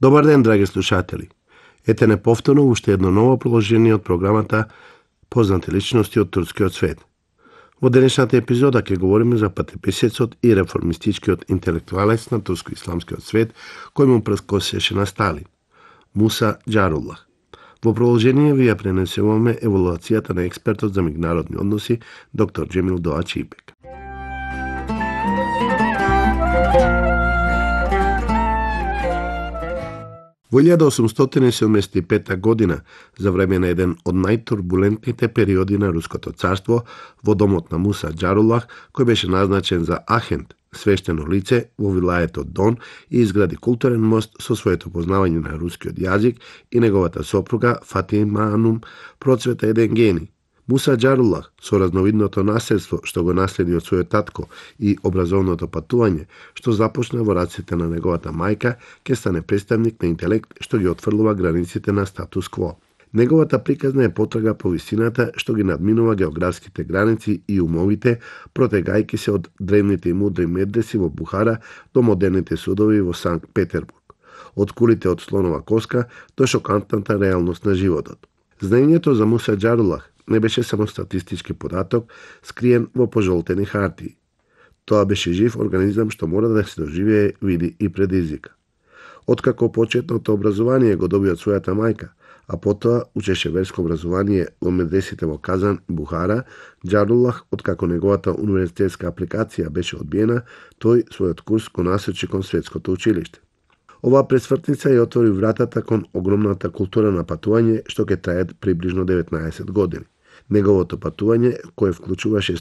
Добар ден, драги слушатели. Ете неповторно уште едно ново продолжение од програмата Познати личности од турскиот свет. Во денешната епизода ќе говориме за патеписецот и реформистичкиот интелектуалец на турско-исламскиот свет кој му прескосеше на Сталин, Муса Џаруллах. Во продолжение ви ја пренесуваме еволуацијата на експертот за меѓународни односи доктор Џемил Доачипек. Во 1875 година, за време на еден од најтурбулентните периоди на Руското царство, во домот на Муса Џаруллах, кој беше назначен за ахент, свештено лице во вилаетот Дон и изгради културен мост со своето познавање на рускиот јазик и неговата сопруга Фатима Анум процвета еден гений. Муса Џаруллах, со разновидното наследство што го наследи од својот татко и образовното патување што започна во раците на неговата мајка, ќе стане представник на интелект што ги отфрлува границите на статус кво. Неговата приказна е потрага по висината што ги надминува географските граници и умовите, протегајќи се од древните и мудри медреси во Бухара до модерните судови во Санкт Петербург, од кулите од слонова коска до шокантната реалност на животот. Знаењето за Муса Џаруллах не беше само статистички податок скриен во пожолтени хартии. Тоа беше жив организам што мора да се доживее, види и предизвика. Откако почетното образование го доби од својата мајка, а потоа учеше верско образование во медресите во Казан и Бухара, Џаруллах, откако неговата универзитетска апликација беше одбиена, тој својот курс го насочи кон светското училиште. Оваа пресвртница ја отвори вратата кон огромната култура на патување што ќе трае приближно 19 години. Неговото патување, кое вклучуваше